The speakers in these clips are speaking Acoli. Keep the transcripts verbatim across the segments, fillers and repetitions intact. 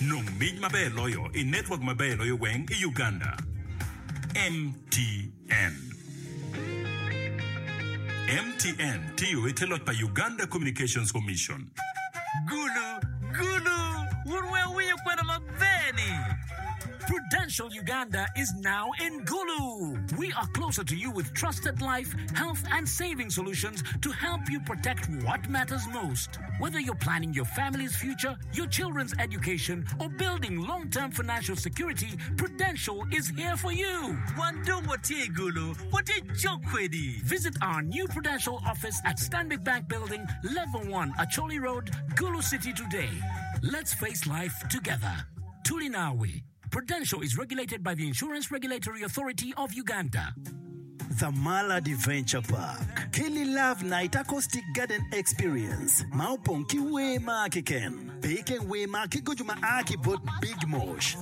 Nong mic maber loyo i network maber loyo weng i Uganda. M T N. M T N tiyo i te loc pa Uganda Communications Commission. Gulu, Gulu, wun weng winyo kwena maber ni. Prudential Uganda is now in Gulu. We are closer to you with trusted life, health, and saving solutions to help you protect what matters most. Whether you're planning your family's future, your children's education, or building long term financial security, Prudential is here for you. Wan dong watye i Gulu, watye cok kwedi. Visit our new Prudential office at Stanbic Bank Building, Level one, Acholi Road, Gulu City today. Let's face life together. Tulinawi. Prudential is regulated by the Insurance Regulatory Authority of Uganda. The Mall Adventure Park Kelly Love Night Acoustic Garden Experience ma opong ki wer ma keken pe ken wer ma ki gojo ma a ki bot Big Mosh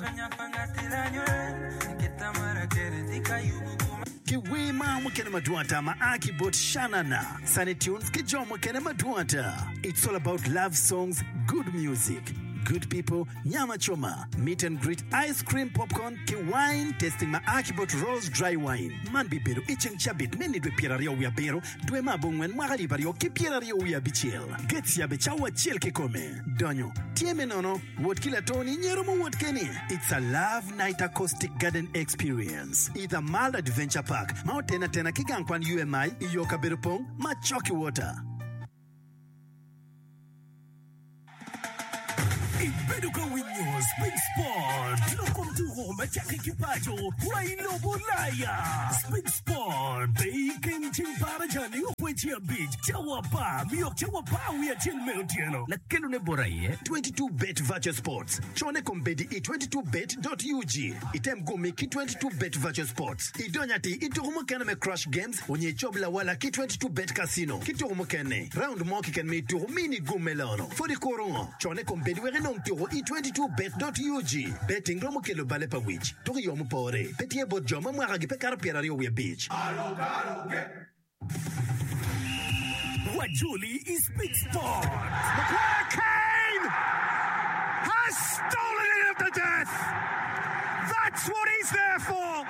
ki wer ma mukene madwong ata ma a ki bot Shanana Sunny Tunes ki jo mukene madwong ata. It's all about love songs, good music, good people, nyama choma, meet and greet, ice cream, popcorn ki wine tasting ma a ki bot Rose Dry Wine. Man bibedo i ceng cabit me nidwe pyeraryo wiye abiro dwe me abongwen mwaka alip aryo ki pyeraryo wiye abicel. Gates yabe cawa acel kikome. Donyo tye me nono wot ki latoni nyero mo wot keni. It's a Love Night Acoustic Garden Experience i The Mall Adventure Park ma otena atena ki gang kwan U M I i yo kabedo pong ma cok i water. Ibedo ka winyo Spik Sport lok kom tuko ma cakke ki paco wa i lobo Ulaya. Spik Sport pe iken ceng baraja ni okweci abic cawa apar miyok cawa apar wiye acel me otyeno. Lakelone bot aye. twenty-two Bet Virtual Sports. Cone kombeddi i twenty-two bet dot U G. Item gumi ki twenty-two Bet Virtual Sports. Idony ati i tuko mukene me Crash Games onye icob lawala ki twenty-two Bet Casino. Ki tuko mukene. Round mo keken me tuko mini gum me lono. Fodi kuro ngo. Cone kombeddi wek inong tuko i twenty-two bet dot U G. Betting romo kelo bale pa wic. Tuko i yo mupore. Pe tye bot jo ma mwaka gi pe kato pyeraryo wiye abic. Wajoli i Spik Sport. Maguire Kane has stolen it at the death. That's what he's there for.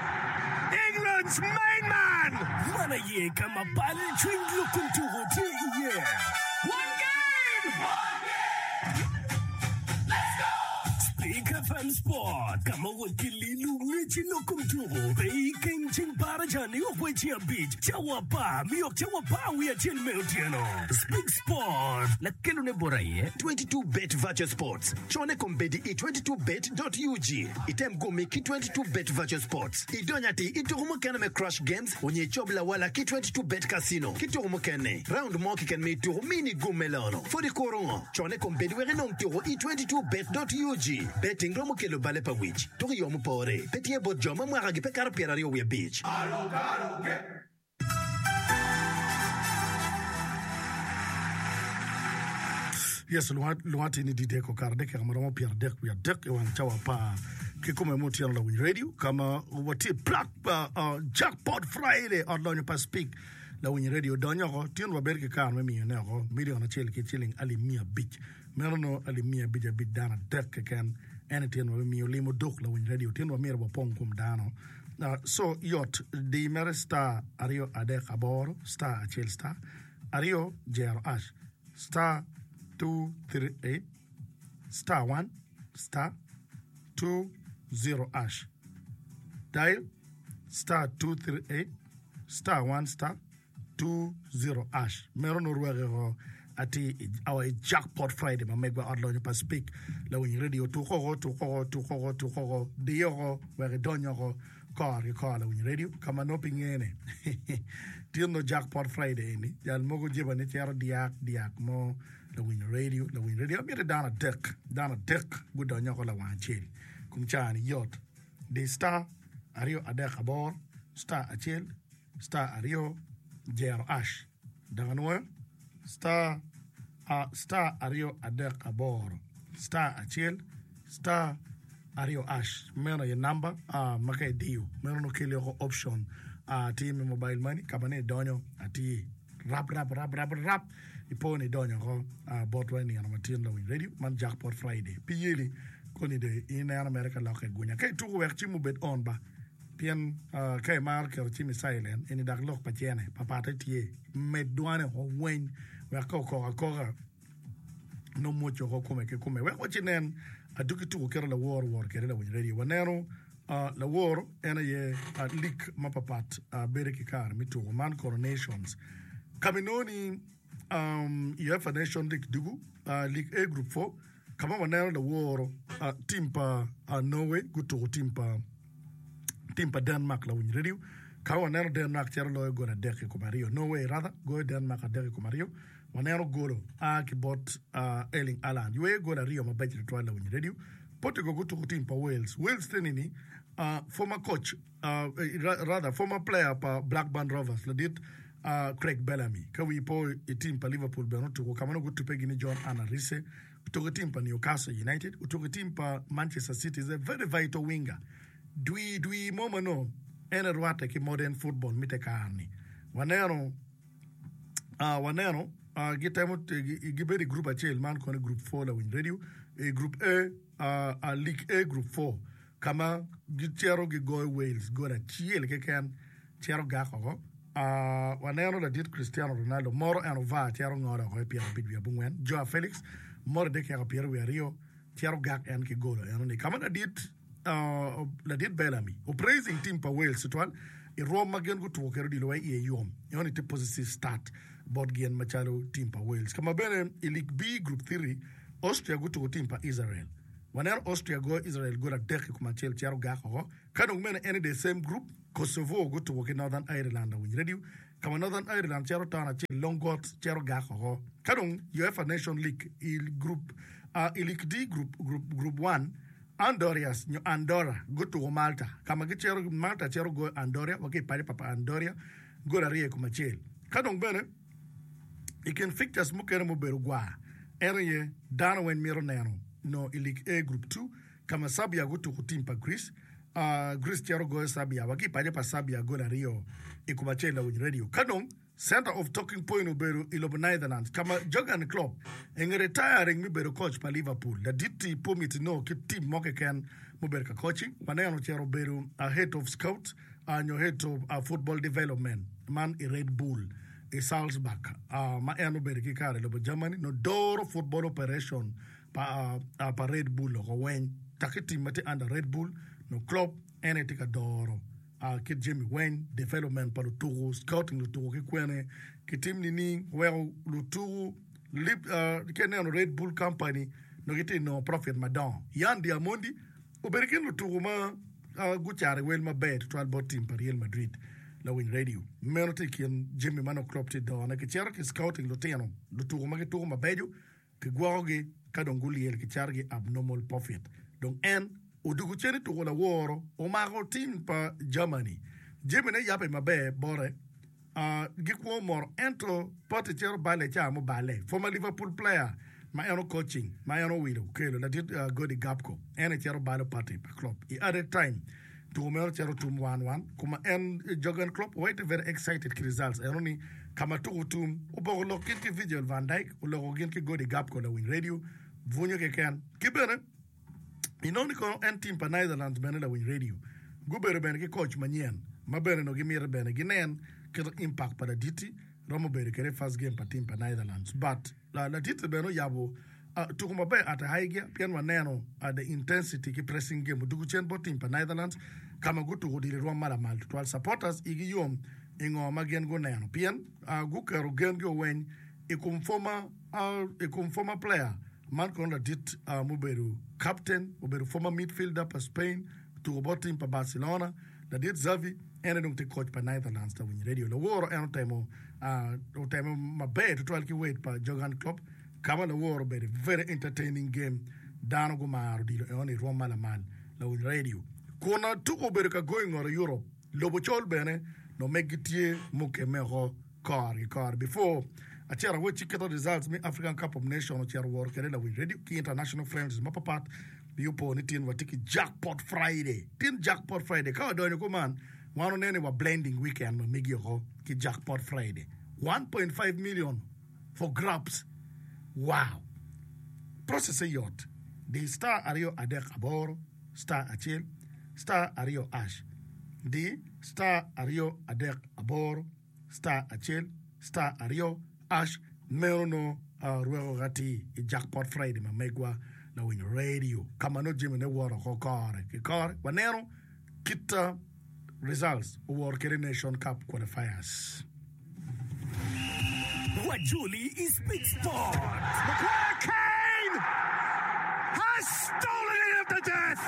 England's main man. Man aye ka ma bal cwiny lok kom tuko tye iye. One game. Spik F M Sport ka ma wot ki lilu ngec i lok kom tuko pe iken ceng baraja ni okweci abic cawa apar miyok cawa apar wiye acel me otyeno. Spik Sport. Lakelone bot aye. twenty-two Bet Virtual Sports. Cone kombeddi i twenty-two bet dot U G. Item gumi ki twenty-two Bet Virtual Sports. Idony ati i tuko mukene me Crash Games onye icob lawala ki twenty-two Bet Casino. Ki tuko mukene. Round mo keken me tuko mini gum me lono. Fodi kuro ngo. Cone kombeddi wek inong tuko i twenty-two bet dot U G. Betting romo kelo bale pa wic. Tuko i yo mupore. Pe tye bot jo ma mwaka gi pe kato pyeraryo wiye abic. Yes, luwati ni didek okaro dakika maromo pyeradek wiye adek i wang cawa apar ki kome ma otyeno lawiny radio ka ma watye plak uh, uh, Jackpot Friday ot lonyo pa Spik lawiny radio donyo oko tyen wabedo ki kare me miyone oko milion acel ki ciling alip miya abic meno no alip miya abic abic dano adek keken en tyen wabimiyo limo dok lawiny radio tyen wamyero wapong kom dano. uh, so yot di mere star aryo adek aboro star acel star aryo jero hash star two three eight star one star two zero hash. Dial star two three eight star one star two zero hash. Meno no rweke ko ati awa i Jackpot Friday ma megwa ot lonyo pa Spik lawiny radio tukoko tukoko tukoko tukoko diyoko wek idonyoko kor ki kor lawiny radio ka ma nongo pe ngene tyen no Jackpot Friday ni jal mogo jeba ni cero diak diak mo lawiny radio lawiny radio amito dano adek dano adek gudonyoko lawang acel kum caa ni yot di star aryo adek aboro star acel star aryo jero hash dok anwoyo star uh, star aryo adek aboro star acel star aryo hash meno aye namba uh, ma ka idiyo meno no keli oko option uh, tye me mobile money ka ma ne idonyo atir rap rap rap rap rap ipo ni idonyo oko uh, botwa i nino matin lawiny radio man Jackpot Friday pi yeli Koni dong ineno mere ka lokke gunya. Ka ituko wek cim obed on ba, pien ka imaro keto cim i silent, eni dok lok pa cene papatte tye. Med dwane woko weng wek ka okok akoka nongo mwoc woko kome ki kome. Wek waci nen adwogi tuko kite lawor wor kwede lawiny radio. Waneno lawor en aye lik mapapat bedo ki kare me tuko man kono Nations. Ka ma inongo ni UEFA Nation League dugu, League A Group four, ka ma waneno laworo tim pa Norway gutuko tim pa tim pa Denmark lawiny radio ka ma waneno Denmark cito loyo gol adek i kom aryo Norway rather goyo Denmark adek i kom aryo waneno golo a ki bot Erling Haaland yweyo gol aryo mabeco tutwal lawiny radio Portugal gutuko tim pa Wales Wales tye ni former coach rather former player pa Blackburn Rovers ladit Craig Bellamy ka wi po i tim pa Liverpool bene otuko ka ma nongo gutube gini John Arne Riise otuko i tim pa Newcastle United otuko i tim pa Manchester City is a very vital winger dwi dwi mo ma nongo en erwatte ki modern football me te kare-ni waneno waneno gitemo gibedo i group acel man kono group four lawiny radio i group A League A group four ka ma gicito gigoyo Wales gol acel keken cito gak oko. Waneno ladit Cristiano Ronaldo moro en ovar cito ngolo oko i pyerabic wiye abongwen, Joao Felix moro i dyekeka pyeraryo wiye aryo cito gak en ki golo enoni. Ka ma ladit ladit Bellamy opraising team pa Wales tutwal i rwom ma gin gutuko kwede odilo wa iye yom enoni tye positive start bot gin macalo team pa Wales. Ka ma bene i League B Group three Austria gutuko team pa Israel. Waneno Austria goyo Israel gol adek i kom acel cito gak oko. Ka dong meno en i the same group, Kosovo gutuko ki Northern Ireland awiny radio, ka ma Northern Ireland cito ton acel long got cito gak oko. Ka dong UEFA Nation League i group i League D group group group one, Andorias nyo Andorra gutuko Malta, ka ma gicito Malta cito goyo Andoria wa ki i paco pa Andoria gol aryo i kom acel. Ka dong bene I kin fixtures mukene mubedo gwar en aye dano weng mito neno no i League A Group two ka ma Serbia gutuko tim pa Greece. Greece cito goyo Serbia wa ki i paco pa Serbia gol aryo i kom acel lawiny radio. Ka dong center of talking point obedo i lobo Netherlands ka ma Jurgen Klopp enge retiring me bedo coach pa Liverpool. Ladit-ti pe omiti nongo kit tim mo keken mubedo ka coaching. Waneno ocito obedo head of scout nyo head of football development man i Red Bull. I Salzburg, ma en obedo ki kare i lobo Germany, nongo doro football operation pa pa Red Bull oko weng. Dok i team ma tye under Red Bull, nongo Klopp en aye tye ka doro kit jami weng, development pa lutuku, scouting lutuku ki kwene, ki tim nining weko lutuku ka ineno Red Bull company nongo gitye ka nongo profit madongo. Yan Diamondi Obedo i kin lutuku ma gucaro i wel maber tutwal bot tim pa Real Madrid. Lawiny radio meno tye i kin jami ma nongo Klopp tye done. Kicito ki scouting lutino lutuku ma gituko mabeco, kigwokogi ka dong gulyel kicatogi abnormal profit. Dong en odwogo cen i tuko laworo omako tim pa Germany. Jamine yabbe maber bote. Gikwo moro ento Partey cito balle ca muballe. Former Liverpool player ma en o-coaching ma en owilo okelo ladit Gody Gapko en aye cito balo Partey pa Klopp i added time. Tuko meno cito tum one one kuma en Jurgen Klopp wai tye very excited ki results eno ni kama tuko tum oboko lok gin ki Virgil van Dijk oloko gin ki Gody Gapko lawiny radio bwunyo keken ki bene Inongo ni kono en tim pa Netherlands bene lawiny radio gubedo bene ki coach manyen ma bene onongo gimito bene ginen kit impact pa laditi romo bedo kwede i first game pa tim pa Netherlands but laditi bene oyabo tuko maber at a high gear pien waneno the intensity ki pressing game odugo cen bot tim pa Netherlands ka ma gutuko odilo i rwom ma lamal tutwal supporters igi yom i ngo ma gin guneno pien guketo gengi oweny i kom former i kom former player Man kono ladit mubedo captain, obedo former midfielder pa Spain, otuko bot team pa Barcelona, ladit Xavi, en aye dong tye coach pa Netherlands lawiny radio. Laworo en otemo otemo maber tutwal ki weight pa Jurgen Klopp ka ma laworo obedo very entertaining game dano gumaro odilo enoni i rwom ma lamal lawiny radio. Kun tuko obedo ka goyo i ngot Europe, lobo col bene nongo meggi tye mukemme oko. Kore ki kore before acito awec kit results me African Cup of Nation ocito woro kede lawiny radio ki international friendlies mapapat pi opo ni tin watye ki jackpot Friday tin jackpot Friday ka wadonyo kuman wan oneno ni wa blending weekend ma megi oko ki jackpot Friday one point five million for grabs wow process-e yot Di star aryo adek aboro star acel star aryo hash. Di star aryo adek aboro star acel star aryo hash. Meno no uh, rweko gati i Jackpot Friday ma megwa lawiny radio ka ma nongo jamine woro oko kore ki kore. Waneno kit uh, results owor kede Nation Cup qualifiers. Wajoli is Big Sport. Maguire Kane has stolen it of the death.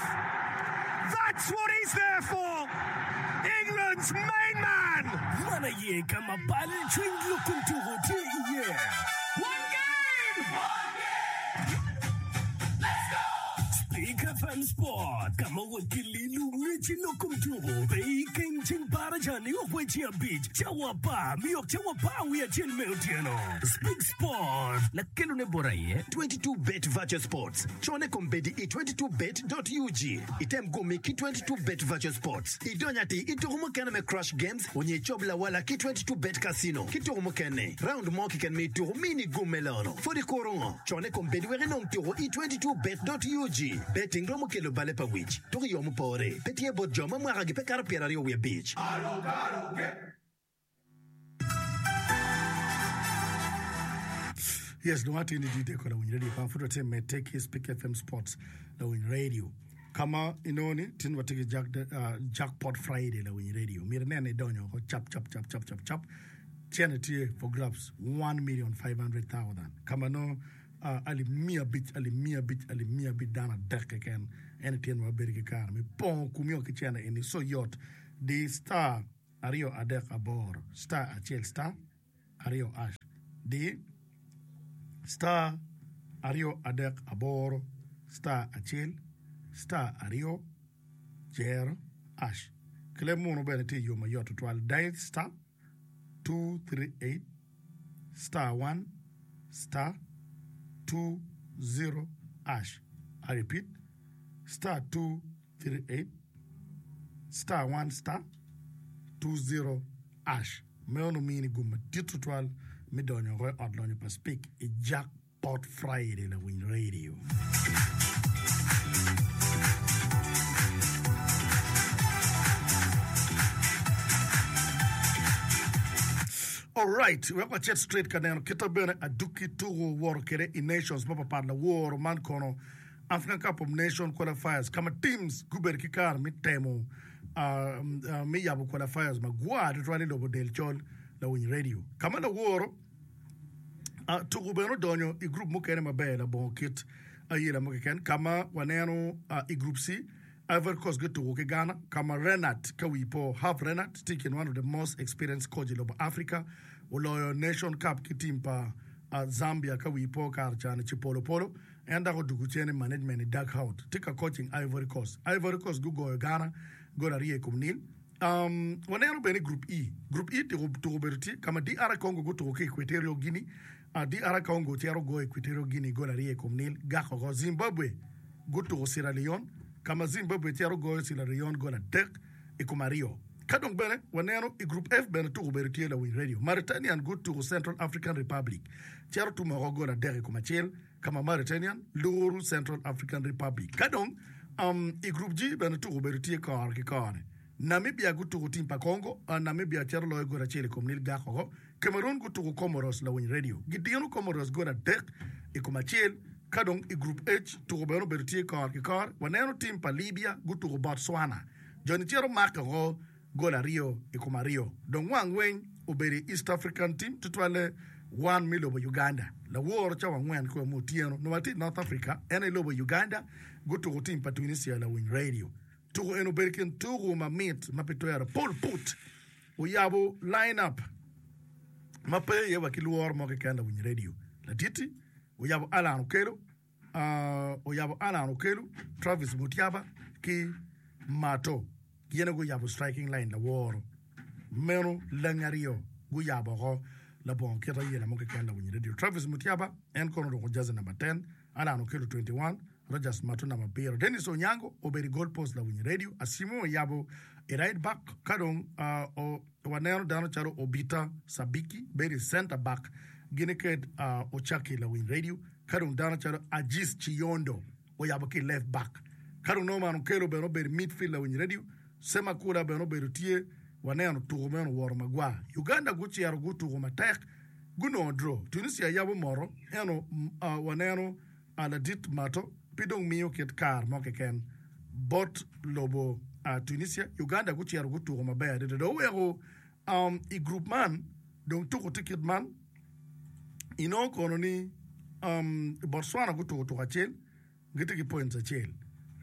That's what he's there for. England's main man. Man aye ka ma bal cwiny lok kom tuko tye iye. One game. Speak F M Sport ka ma wot ki lilu ngec i lok kom tuko pe i keng ceng baraja ni ok weche abic cawa apar miyok cawa apar wiye acel me otyeno. Speak Sport lakelone bot aye twenty-two Bet Virtual Sports. Cone kombeddi i twenty-two bet dot U G. Item gumi ki twenty-two Bet Virtual Sports. Idony ati i tuko mukene me Crash Games onyo icob lawala ki twenty-two Bet Casino. Ki tuko mukene, round mo keken me tuko mini gum me lono. Pud ikuro ngo? Cone kombeddi wek inong tuko i twenty-two bet dot U G. Betting romo kelo bale pa wic. Tuko i yo mupore. Pe tye bot jo ma mwakagi pe kato pyeraryo wiye abic. Yes, dong atye ni D J ko lawiny radio ka pud watye medde ki Speak F M Sports lawiny radio. Kama inongo ni tin watye ki Jack, uh, Jackpot Friday lawiny radio. Myero inen ni idonyo oko cap cap cap cap cap cap. Cene tye for grabs one million five hundred thousand. Kama no uh, alip miya abic, alip miya abic, alip miya abic dano adek keken. En tyen wabedo ki kare me pongo kumio ki cene eni so yot. Di star aryo adek aboro star acel star aryo hash. Di star aryo adek aboro star acel star aryo zero hash. Kleb munu bene tye yo mayot tutwal. Dial star two three eight star one star two zero hash. I repeat, star two three eight star one star two zero hash. Meno mini gum madit tutwal me donyo oko i ot lonyo pa Speak i Jackpot Friday lawiny radio. Alright, wek wacit straight ka neno kita bene aduki tuko woro kede i nations mapapat laworo man kono African Cup of Nations qualifiers kama teams gubedo ki kare me temo uh, uh, me yabo qualifiers magwar tutwal i lobo del col lawiny radio. Kama laworo uh, tuko bene odonyo i group mukene maber labongo kit ayela mo keken kama waneno uh, i group C Ivory Coast gituko ki Ghana kama Renat ka wi po Herve Renard tye one of the most experienced coach i lobo Africa oloyo Nation Cup ki team pa uh, Zambia ka wi po kare cani Chipolopolo en dok odugo cen i management i Dark Out tye ka coaching Ivory Coast. Ivory Coast gugoyo Ghana gol aryo i kom nil. Um, waneno bene group E. Group E tuko tuko bedo tye kama D R Congo gutuko ki Equatorial Guinea. Uh, D R Congo cero goyo Equatorial Guinea gol aryo i kom nil gako oko. Zimbabwe gutuko Sierra Leone kama Zimbabwe cero goyo Sierra Leone gol adek i kom aryo. Ka dong bene waneno i group F bene tuko bedo tye lawiny radio. Mauritanian gutuko Central African Republic cero tumo oko gol adek i kom acel kama Mauritanian luru Central African Republic. Ka dong um, i group G bene tuko bedo tye kore ki kore. Namibia gutuko team pa Congo, uh, Namibia cero loyo gol acel i kom nil gako oko. Cameroon gutuko Comoros lawiny radio. Gidino Comoros gol adek i kom acel. Ka dong i group H tuko bene obedo tye kore ki kore. Waneno team pa Libya gutuko Botswana. Joni cero mako oko gol aryo i kom aryo. Dong wang weng obedo i East African team tutwalle wan me lobo Uganda. Laworo cawa angwen kwe mo otyeno. Nongo atye i North Africa, en i lobo Uganda gutuko team pa Tunisia lawiny radio. Tuko en obedo kin tuko mamit ma pe twero. Paul Put oyabo line up ma pe iye wa ki lworo mo keken lawiny radio. Laditi oyabo Alan Okello, uh, oyabo Alan Okello, Travis Mutiaba ki Mato. Gin guyabo striking line laworo. Meno leng aryo guyabo oko labongo kit ayela mo keken lawiny radio. Travis Mutiaba en kono oruko jersey number ten, Alan Okello twenty-one, Rogers Mato number abiro. Dennis Onyango obedo i goal post lawiny radio. Asimo oyabo i right back ka dong uh, o, waneno dano calo Obita Sabiki bedo i center back gini ked uh, Ochaki lawiny radio ka dong dano calo Ajis Chiyondo oyabo ki left back. Ka dong Norman Okello bene obedo midfield lawiny radio, Semakula bene obedo tye, waneno tuko meno owoto magwar. Uganda gucito gutuko matek, gunongo draw. Tunisia yabo moto, ento uh, waneno uh, ladit mato pe dong miyo kit kar mo keken bot lobo uh, Tunisia. Uganda gucito gutuko maber adada. Dong oweko um, i group man dong tuko tye kit man inongo kono ni um, Botswana gutuko tuko acel gitye ki points acel.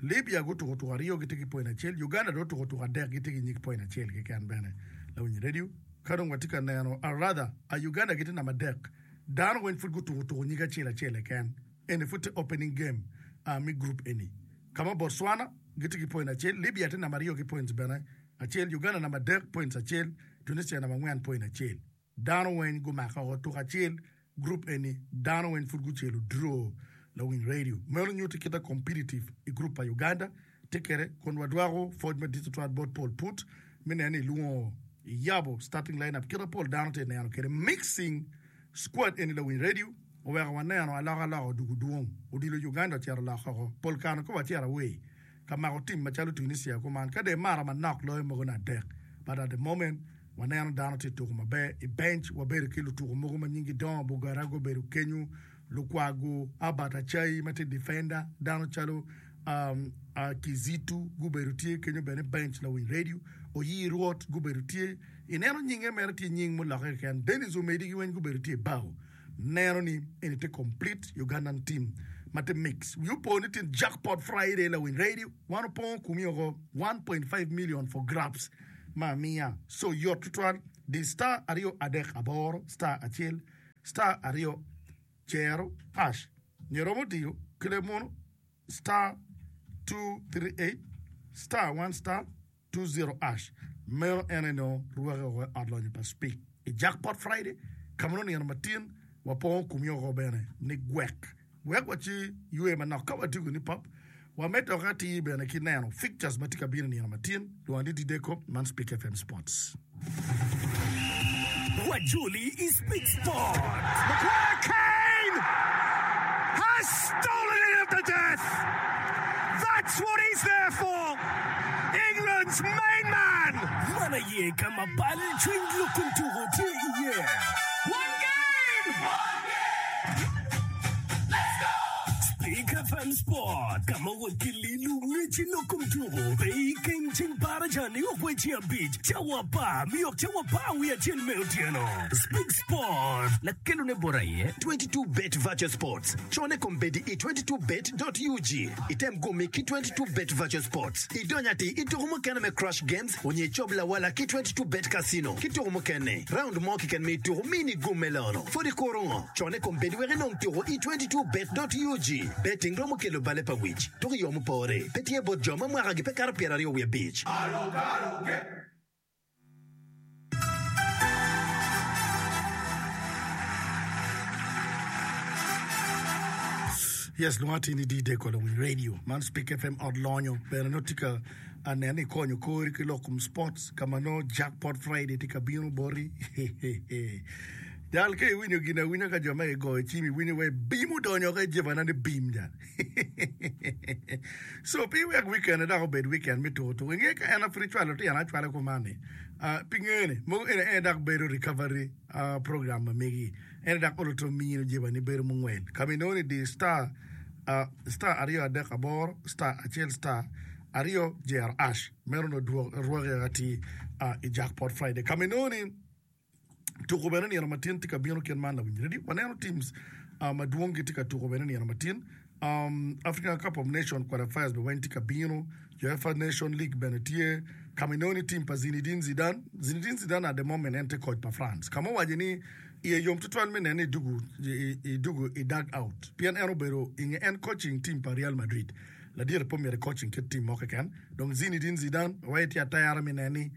Libya gutuko tuko aryo gitye ki point acel. Uganda dong otuko tuko adek gitye ki nyig point acel keken bene. Lawiny radio ka dong watye ka neno uh, rather uh, Uganda gitye namba adek. Dano weng pud gutuko tuko nyig acel acel keken. Eni pud tye opening game uh, mi group eni. Kama Botswana gitye ki point acel, Libya tye namba aryo ki points bene acel, Uganda namba adek points acel, Tunisia namba angwen point acel. Dano weng gumako oko tuko acel group eni dano weng pud gucelo draw lawiny radio. Meno nyuto kita competitive i group pa Uganda tye kede kun wadwako pwoc madit tutwal bot Paul Put mi neno ni ilwongo iyabo starting lineup kita pol dano tye neno kede mixing squad eni lawiny radio oweko waneno alokaloka odugo dwong odilo Uganda ocito loko oko pol kare ka wacito away ka mako team macalo Tunisia kuman ka de mara manok loyo mogo na adek but at the moment waneno dano tye tuko maber i bench wabedo ki lutuko mogo ma nyingi dongo Bugara gubedo kenyo Lukwago Albert Achai ma tye defender dano calo um, uh, Kizitu gubedo tye kenyo bene bench lawiny radio Oyi Rwot gubedo tye ineno nyinge mere tye nying muloke keken Dennis Omedi gi weng gubedo tye i bao neno ni eni tye complete Ugandan team ma tye mix wi opo ni tye jackpot Friday lawiny radio wan opongo kumi oko one point five million for grabs ma miya so yot tutwal di star aryo adek aboro star acel star aryo cero hash nyo romo diyo kile muno star two three eight star one star two zero hash meno en eno rwake oko i ot lonyo pa Speak i jackpot Friday ka ma nino matin wapongo kumi oko bene ni gwek wek waci ywe manok ka watigo ni pop wamedde oko atir bene ki neno fixtures ma tye ka bino nino matin lwongo ni Dideko man Speak F M Sports. Wajoli is Speak Sport. Maguire Kane has stolen it of the death. That's what he's there for. England's main man. Mana ye kama pal chwing lukun tugo tye iye. One game. One game. Let's go. Speak F M Sport. Kama wakililu ngechi lokum tugo. Pe ken ching paraja ni okwechi abich. Chawa pa miok chawa pa wiya chien me otieno. Speak Sport. Lakelo ne bora ye. twenty-two bet Virtual Sports. Chone kombedi i twenty-two bet dot U G. Item gumi ki twenty-two bet Virtual Sports. Idonya ti ituku mukene me Crush Games onye chob la wala ki twenty-two bet Casino. Kituku mukene. Round mo kiken me ituku mini gumelono. Fodi korongo. Chone kombedi weke nong tuku i twenty-two bet dot U G. Betting romo kelo bale pa wich. Tuku yomu pore. Petie bot joma mwaka gi pe karo piero ariyo wiye abich. Yes, luwati ni D-Day kola winy radio. Man Speak F M od lonyo. Bene no tika anene konyo kori ki lokum sports kama no jackpot Friday tika bino bori. Jal ke winyo gina winyo ka joma e goyo chimi winyo we bim odonyo ka jevana ni bim jal. So pi wek weekend dok obed weekend mi tuko tuko. Inge ka en afri chwalo ti an achwalo kumani. Uh, pi ngene, mogo ene en dak bedo recovery uh, program ma megi. En dak oloto miyo jevani bedo mungwen. Kami noni di star Uh, star ariyo adek aboro star achiel star ariyo jer ash meno no duok rwake ati uh, i jackpot Friday kaminoni tuko bene nino matin tye ka bino kien man lawiny radio waneno teams uh, madwong gitye ka tuko bene nino matin um, African Cup of Nations qualifiers be weng tye ka bino UEFA Nation League bene tye kaminoni team pa Zinedine Zidane Zinedine Zidane at the moment en tye coach pa France kama owaco ni iye yom tutwal mi nene idugu idugu i dug out pien en obedo inge en coaching team pa Real Madrid ladire po myero coaching kit team mo keken dong Zinedine Zidane waye tye atera mi nene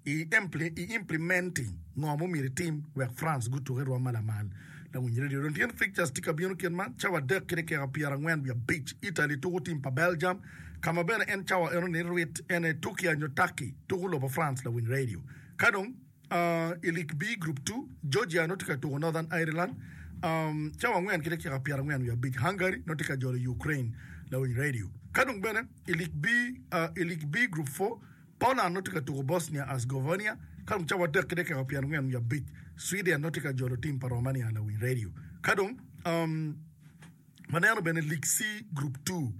i impli, i implementing ngo mo myero team wek France gutuke rwom malamal lawiny radio don tyen fixtures tye ka bino kien man cawa adek ki dakika pyero angwen wiye abic Italy tuko team pa Belgium kama bene en cawa eno ni rwit ene Turkey nyo Turkey tuko lobo France lawiny radio ka dong Uh, i League B Group two, Georgia no tye ka tuko Northern Ireland. Um, cawa angwen ki dakika pyero angwen wiye abic Hungary no tye ka jolo Ukraine. Lawiny Radio. Ka dong bene i League B, uh, i League B Group four, Poland nongo tye ka tuko Bosnia Herzegovina, ka dong cawa adek ki dakika pyerangwen wiye abic, Sweden nongo tye ka jolo tim pa Romania Lawiny Radio. Ka dong um, waneno bene League C Group two,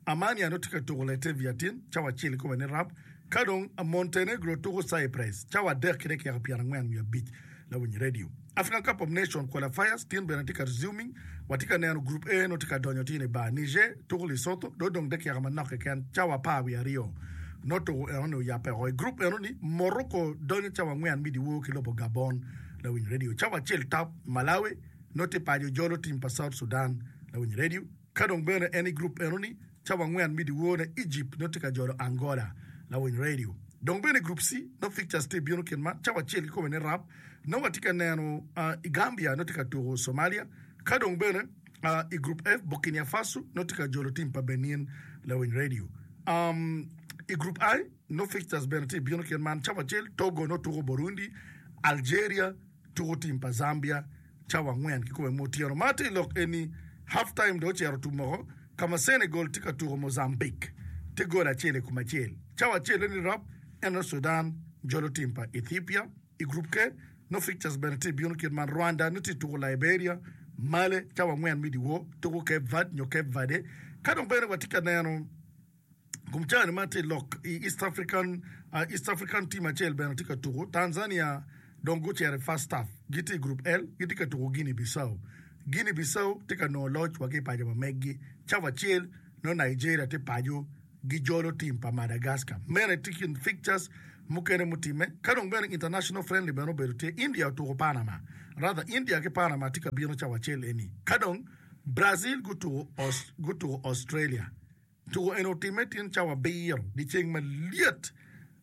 Armenia nongo tye ka tuko Latvia tin, cawa acel kikome ni rap. Ka dong Montenegro tuko Cyprus, cawa adek ki dakika pyerangwen wiye abic Lawiny Radio. African Cup of Nations qualifiers tin bene tye ka resuming, watye ka neno Group A nongo tye ka donyo tin i bar. Niger tuko Lesotho, dong odong dakika manok keken, cawa apar wiye aryo nongo tuko enoni oyabbe oko. I group enoni Morocco donyo cawa angwen me dyewor ki lobo Gabon Lawiny Radio. Cawa acel tap Malawi nongo tye paco jolo tim pa South Sudan Lawiny Radio. Ka dong bene en i group enoni cawa angwen me dyewor ne Egypt nongo tye ka jolo Angola Lawiny Radio. Dong bene i group C nongo fixtures tye bino kin man cawa acel kikome ni rap nongo watye ka neno uh, i Gambia nongo tye ka tuko Somalia. Ka dong bene uh, i group F Burkina Faso nongo tye ka jolo tim pa Benin Lawiny Radio. Um, i group I nongo fixtures bene tye bino kin man cawa acel Togo nongo tuko Burundi, Algeria tuko tim pa Zambia cawa angwen kikome mo otyeno. Ma tye lok eni half time dong ocito tum oko ka ma Senegal tye ka tuko Mozambique tye gol acel i kom acel. Cawa acel ni rap eno Sudan jolo tim pa Ethiopia. I group K no fixtures bene tye bino kit man Rwanda nongo tye tuko Liberia, Mali cawa angwen me dyewor tuko Cape Verde nyo Cape Verde. Ka dong bene watye ka neno kum cani ma tye lok i East African, uh, East African team acel bene tye ka tuko Tanzania dong gucito i first half gitye i group L gitye ka tuko Guinea Bissau. Guinea Bissau tye ka nongo loc wa ki i paco pa meggi cawa acel nongo Nigeria tye paco gijolo tim pa Madagascar. Meno tye kin fixtures mukene mutimme. Ka dong bene international friendly bene obedo tye India otuko Panama. Rather India ki Panama tye ka bino cawa acel eni. Ka dong Brazil gutuko, Aus, gutuko Australia. Tuko eno otimme tin cawa abiro dyeceng malyet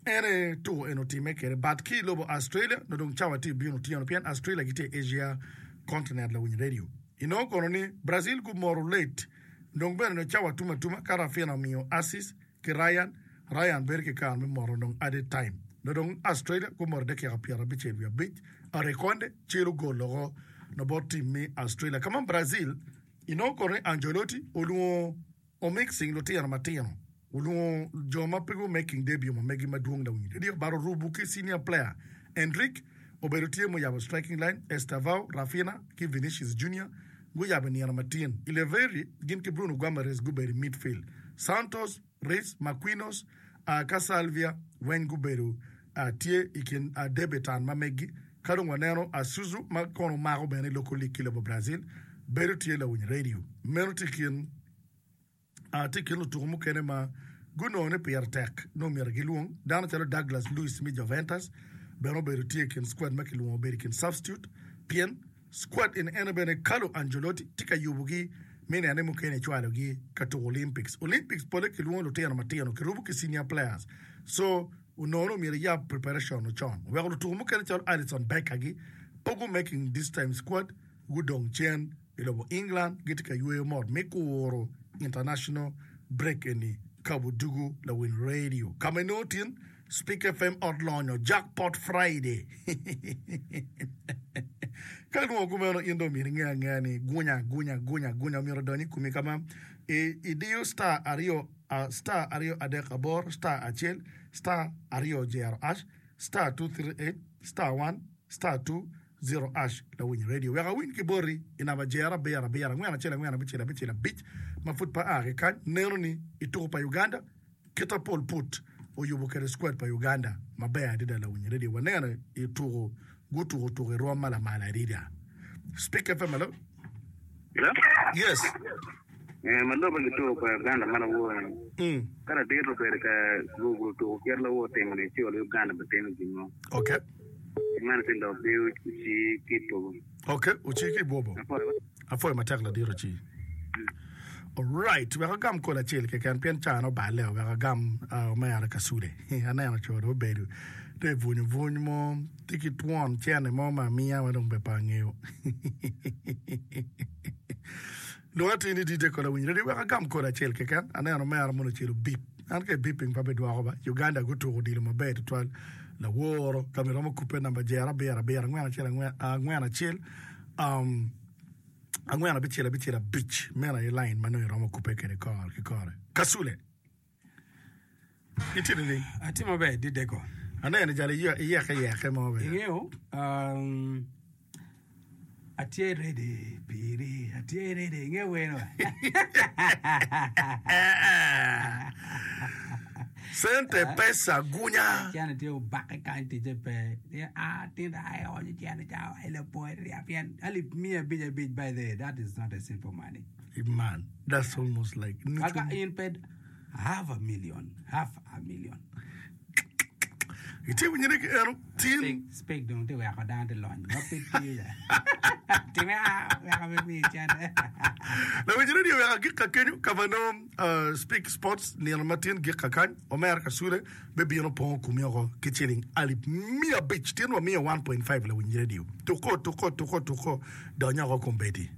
ene tuko eno otimme kede but ki i lobo Australia no dong cawa tye bino otyeno pien Australia gitye Asia continent Lawiny Radio. Inongo kono ni Brazil gumoro late dong bene no cawa tum atuma ka Raphinha omiyo assist ki Ryan Ryan bedo ki kare me moro dong added time no dong Australia gumoro dakika pyerabicel wiye abic Arekonde celo gol oko no bot tim me Australia. Ka ma Brazil inongo kono ni Ancelotti olwongo omixing lutino matino olwongo jo ma pe gu making debut ma megi madwong Lawiny Radio but orubo ki senior player Endrick obedo tye muyabo striking line Estevao Raphinha ki Vinicius Junior guyabo nino matin Ileveri gin ki Bruno Guimaraes gubedo i midfield Santos Reis Marquinhos uh, ka Salvia weng gubedo uh, tye i kin uh, debutant ma megi. Ka dong waneno Asuzu ma kono mako bene i local league ki lobo Brazil bedo tye Lawiny Radio. Meno tye kin uh, tye kin lutuko mukene ma gunongo ni pire tek nongo myero gilwong dano calo Douglas Luiz me Juventus bene obedo tye i kin squad ma kilwongo obedo i kin substitute pien squad en ene bene Carlo Ancelotti tye ka yubogi me nene mukene cwalogi ka tuko Olympics. Olympics pole kilwongo lutino matino kirubo ki senior players so onongo ni myero yab preparation ocon weko lutuko mukene calo Alisson Becker gi pe gu making this time squad gudong cen i lobo England gitye ka yweyo mot me kuro international break eni ka budugu Lawiny Radio ka ma inongo tin Speak F M ot lonyo Jackpot Friday. Ka lwongo kumeno in dong myero inge angea ni gunya gunya gunya gunya myero odony i komi ka ma idiyo star aryo uh, star aryo adek aboro star acel star aryo jero hash star two three eight star one star two zero hash Lawiny Radio. Wek awiny ki boti i namba jero abiro abiro angwen acel angwen abicel abicel abic ma pud pa a ki kany neno ni i tuko pa Uganda kita Paul Put oyubo kede squad pa Uganda maber adada Lawiny Radio. Waneno i tuko gutuko tuko i rwom ma lamal adada. Speak F M hello. Hello? Yes. Eh, ma lobo gi tuko pa Uganda ma lawor. Mm. Ka ladit obedo ka Google tuko kit lawor timo ni ci olo Uganda be timo gin mo. Okay. Mano ti lok gi uci ki bobo. Okay, uci ki bobo. Afoyo. Afoyo matek ladit uci. Alright, wek agam kol acel keken pien can oballe wek agam uh, omera kasule. Aneno co dong obedo tye bwunyo bwuny mo tye ki twon cene mo ma amiya ma dong be pe angeyo. Lwonga tye ni D J Kola Winyo Radio wek agam kol acel keken aneno omera mono ocelo bip. An ka ibiping pa bidwoko ba Uganda gutuko odilo maber tutwal laworo ka myero romo kupe namba jero abiro abiro angwen acel angwen angwen acel um, Angwen abicel abicel abic meno aye lain ma nongo iromo kubbe kwede kore ki kore. Kasule, itye nining? Atye maber dideko. Aneno jalo iyeke yeke mo bene. Ingeyo, um, atye ready piri, atye ready, ingeyo weno. Cente pesa gunya. Cene tye obake kany ticce pe. Ah, tinda ai onyo cene ca ai lapoi rya pien alip miya abic abic by the way that is not a simple money. Man, that's almost like Kaka in pe half a million, half a million. Itye winyo ni eno tin. Speak dong tye weko dano tye lony ma pe tiyo ya. Time a weko pe miyo cente. Lawinyo radio wek agik ka kenyo ka ma nongo Speak Sports nino ma tin gik kakany omera Kasule bibino pongo kumi oko ki ciling alip miya abic tin wamiyo one point five lawiny radio tuko tuko tuko tuko dony oko kombeddi.